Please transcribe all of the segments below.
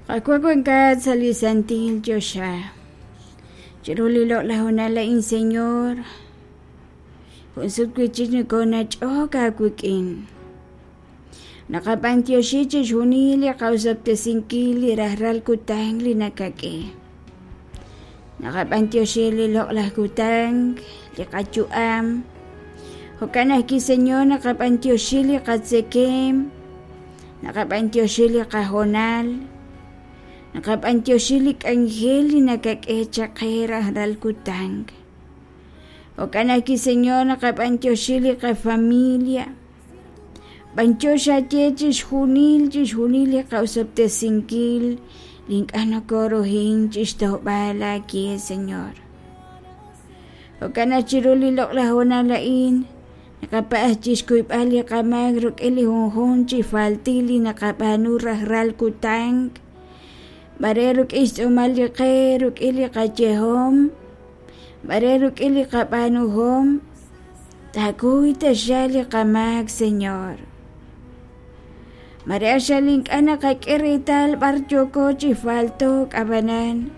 Qaawa' wankat sa' li santil choxa. Chiru li loq'laj honal a'in, Señor, jun sut wi' chik nokoonach'ok aawik'in. Naqab'antioxi chixjunil li qa'osob'tesinkil li rajlal kutan li nakak'e. Naqab'antioxi li loq'laj kutan, li qayu'am. Jo'kan ajwi', Señor, naqab'antioxi li qatzekem, naqab'antioxi li qahoonal, naqab'antioxi li k'anjel li nakak'e chaq qe rajlal kutan. Jo'kan ajwi', Señor, naqab'antioxi li qafamilia. B'antiox aaye chixjunil, chixjunil li qa'osob'tesinkil li ink'a' nokorohin chixtojb'al aawe, Señor. Jo'kan naq chiru li loq'laj hoonal a'in, naqapa'aj chixkuyb'al li qamaak rik'in li junjunq chi faltil li naqab'aanu rajlal kutan, mare rik'in xtz'uumal li qe, rik'in li qayehom, mare rik'in li qab'aanuhom. Taakuy taxaq li qamaak, Señor. Mare axal ink'a' naqak'e reetal b'ar yooko chi falto'k, ab'anan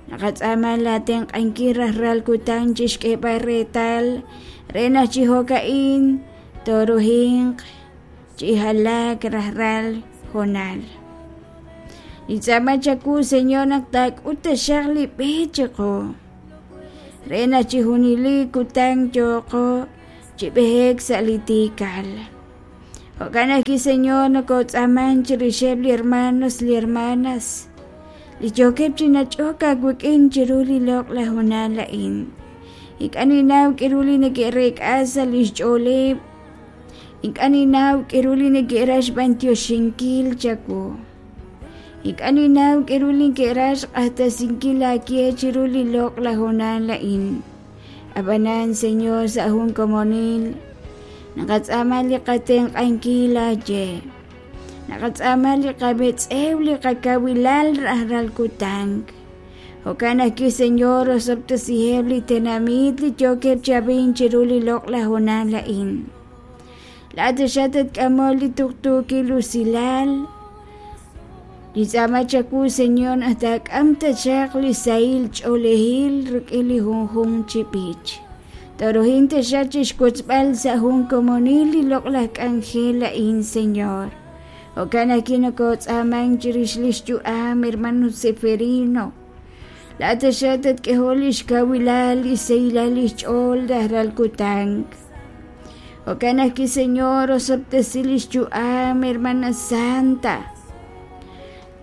naqatz'aama laatenq'ankil rajlal kutan chi xk'eeb'al reetal re naq chi jo'ka'in tooruhinq chi jalaak rajlal hoonal. Nintz'aama chawu, Señor, naq taak'ut taxaq li b'e chiqu re naq chi junelik kutan yooqo chi b'ehek sa' li tiikal. Jo'kan ajwi', Señor, nokotz'aaman chirixeb' li hermanos, li hermanas li yookeb' chi nach'ok aawik'in chiru li loq'laj hoonal a'in. Ink'a' ninnaw k'aru li neke'reek'a sa' lix ch'ooleb'. Ink'a' ninnaw k'aru li neke'raj xb'antioxinkil chawu. Ink'a' ninnaw k'aru li neke'raj xq'axtesinkil aawe chiru li loq'laj hoonal a'in. Ab'anan, Señor, sa' jun komonil naqatz'aama li qatenq'ankil aawe. Naqatz'aama li qametz'ew, li qakawilal rajlal kutan. Jo'kan ajwi', Señor, osob'tesiheb' li tenamit li yookeb' chi ab'ink chiru li loq'laj hoonal a'in. Laa'at taxaq tatk'amol li tuqtuukil usilal. Nintz'aama chawu, Señor, naq taak'am taxaq li sahil ch'oolejil rik'in li junjunq chi b'ich. Tooruhin taxaq chixwotzb'al sa' jun komonil li loq'laj k'anjel a'in, Señor. Jo'kan ajwi' nokootz'aamank chirix lix yu'am hermano Zeferino. Laa'at taxaq tatk'ehol lix kawilal, lix sahilal lix ch'ool rajlal kutan. Jo'kan ajwi', Señor, osob'tesi lix yu'am hermana Santa.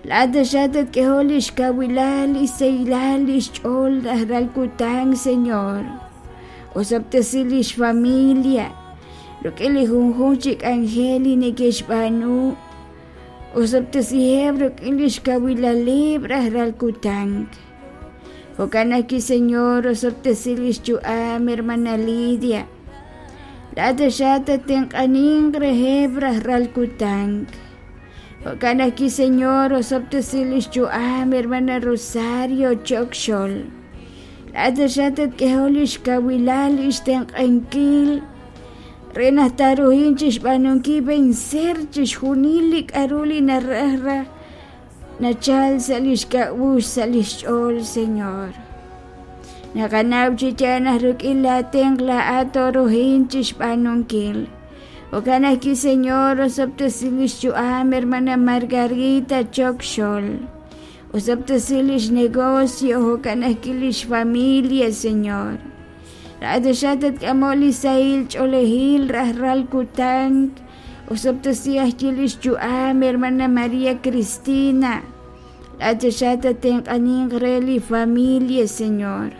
Laa'at taxaq tatk'ehol lix kawilal, lix sahilal lix ch'ool rajlal kutan, Señor. Osob'tesi lix familia rik'in li junjunq chi k'anjel li neke'xb'aanu. Osob'tesiheb' rik'in lix kawilaleb' rajlal kutan. Jo'kan ajwi', Señor, osob'tesi lix yu'am hermana Lidia. Laa'at taxaq tattenq'aninq reheb' rajlal kutan. Jo'kan ajwi', Señor, osob'tesi lix yu'am hermana Rosario Chokxol. Laa'at taxaq tatk'ehol lix kawilal, lix tenq'ankil re naq taaruhin chixb'aanunkil vencer chixjunil li k'a'ru li naraj raj nachal sa' lix k'a'uxl, sa' lix ch'ool, Señor. Naqanaw chi yaal naq rik'in laa tenq' laa'at tooruhin chixb'aanunkil. Jo'kan ajwi', Señor, osob'tesi lix yu'am hermana Margarita Chokxol. Osob'tesi lix negocio, jo'kan ajwi' lix familia, Señor. Laa'at taxaq tatk'amoq li sahil ch'oolejil rajlal kutan. Osob'tesi ajwi' lix yu'am hermana María Cristina. Laa'at taxaq tatenq'aninq re li familia, Señor.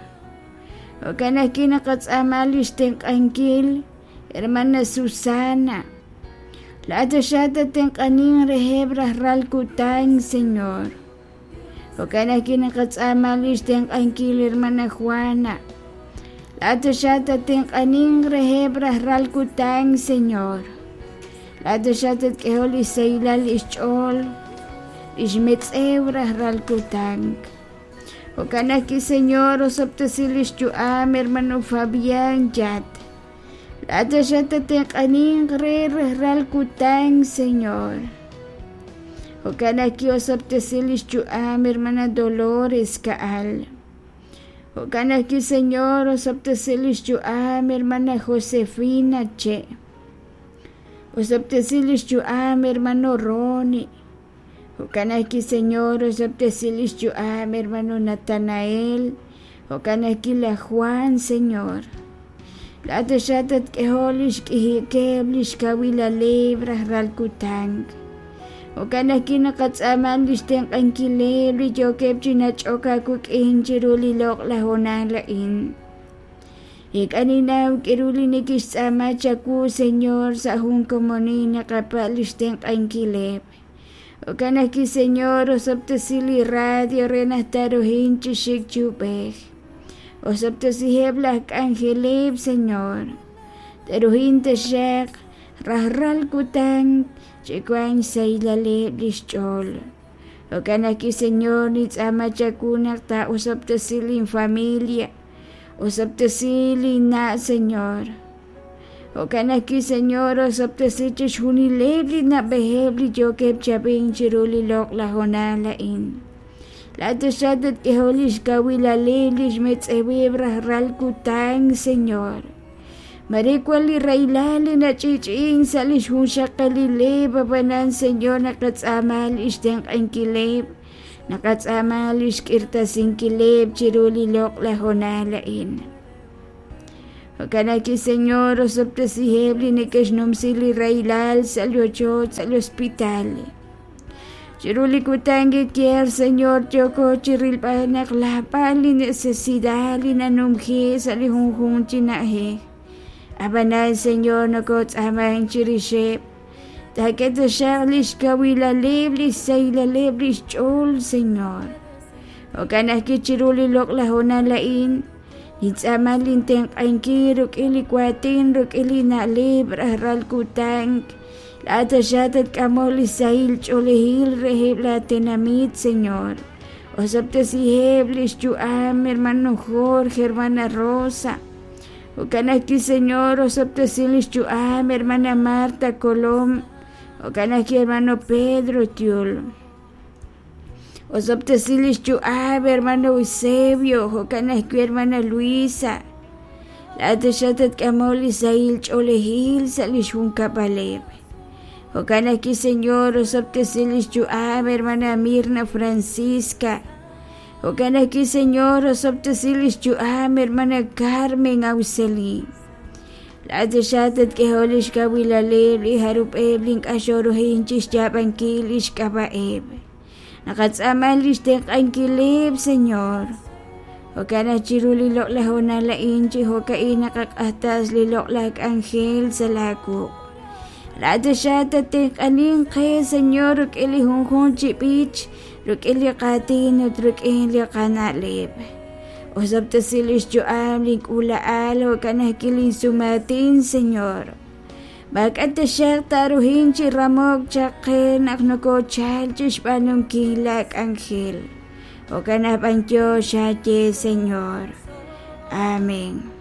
Jo'kan ajwi' naqatz'aama lix tenq'ankil hermana Susana. Laa'at taxaq tatenq'aninq reheb' rajlal kutan, Señor. Jo'kan ajwi' naqatz'aama lix tenq'ankil hermana Juana. Laa'at taxaq tatenq'aninq reheb' rajlal kutan, Señor. Laa'at taxaq tatk'ehol lix sahilal lix ch'ool, lix metz'ew rajlal kutan. Jo'kan ajwi', Señor, osob'tesi lix yu'am hermano Fabián Yat. Laa'at taxaq tatenq'aninq re rajlal kutan, Señor. Jo'kan ajwi' osob'tesi lix yu'am hermana Dolores Ka'al. Jo'kan ajwi' Señor osob'tesi lix yu'am hermana Josefina Che. Osob'tesi lix yu'am hermano Ronnie. Jo'kan ajwi' Señor osob'tesi lix yu'am hermano Natanael. Jo'kan ajwi' laj Juan, Señor. Laa'at taxaq tatk'ehoq lix k'ijikeb' lix kawilaleb' rajlal kutan. Jo'kan ajwi' naqatz'aama lix tenq'ankileb' li yookeb' chi nach'ok aawik'in chiru li loq'laj hoonal a'in. Ink'a' ninnaw k'aru li neke'xtz'aama chawu, Señor, sa' jun komonil naqapatz' lix tenq'ankileb'. Jo'kan ajwi', Señor, osob'tesi li radio re naq taaruhin chi xik chi ub'ej. Osob'tesiheb' laj k'anjeleb', Señor. Te'ruhin taxaq rajlal kutan chi wank xsahilaleb' lix ch'ool. Jo'kan ajwi', Señor, nintz'aama chawu naq taa'osob'tesi lin familia. Osob'tesi lin na', Señor. Jo'kan ajwi', Señor, osob'tesi chixjunileb' li na'b'ejeb' li yookeb' chi ab'ink chiru li loq'laj hoonal a'in. Laa'at taxaq tatk'ehoq lix kawilaleb' lix metz'eweb' rajlal kutan, Señor. Mare wan li rahilal li nach'i'ch'i'ink sa' lix junxaqalileb', ab'anan, Señor, naqatz'aama lix tenq'ankileb', naqatz'aama lix k'irtasinkileb' chiru li loq'laj hoonal a'in. Jo'kan ajwi', Señor, osob'tesiheb' li neke'xnumsi li rahilal sa' li ochoch, sa' li hospital. Chiru li kutan kiyeer, Señor, yooko chirilb'al naq lab'al li necesidad li nanumji sa' li junjunq chi na'ajej. Ab'anan, Señor, nokotz'aamank chirixeb'. Taak'e taxaq lix kawilaleb', lix sahilaleb' lix ch'ool, Señor. Jo'kan ajwi' chiru li loq'laj hoonal a'in, nintz'aama lintenq'ankil rik'in li waatin, rik'in li na'leb' rajlal kutan. Laa'at taxaq tatk'amoq li sahil ch'oolejil reheb' laatenamit, Señor. Osob'tesiheb' li xyu'am hermano Jorge, hermana Rosa. Jo'kan ajwi', Señor, osob'tesi li xyu'am hermana Marta Colom. Jo'kan ajwi', hermano Pedro Tiul. Osob'tesi li xyu'am hermano Eusebio, jo'kan ajwi' hermana Luisa. Laa'at taxaq tatk'amoq li sahil ch'oolejil sa' li xjunkab'aleb'. Jo'kan ajwi', Señor, osob'tesi li xyu'am hermana Mirna Francisca. Jo'kan ajwi', Señor, osob'tesi li xyu'am hermana Carmen Auxeli. Laa'at taxaq tatk'ehoq li xkawilaleb' li jarub'eb' li ink'a' xooruhin chi xyaab'ankil li xk'ab'a'eb'. Naqatz'aama li xtenq'ankileb', Señor. Jo'kan naq chiru li loq'laj hoonal a'in chi jo'ka'in naqaq'axtas li loq'laj k'anjel sa' laawuq'. Laa'at taxaq tatenq'aninq qe, Señor, rik'in li junjunq chi b'ich, rik'in li qaatin ut rik'in li qana'leb'. Osob'tesi li xyu'am link'uula'al jo'kan ajwi' linsumaatin, Señor. Maak'a' taxaq taaruhin chi ramok chaq qe naq nokoochal chi xb'aanunkil laak'anjel. Jo'kan naq b'anyox xaaye, Señor. Amén.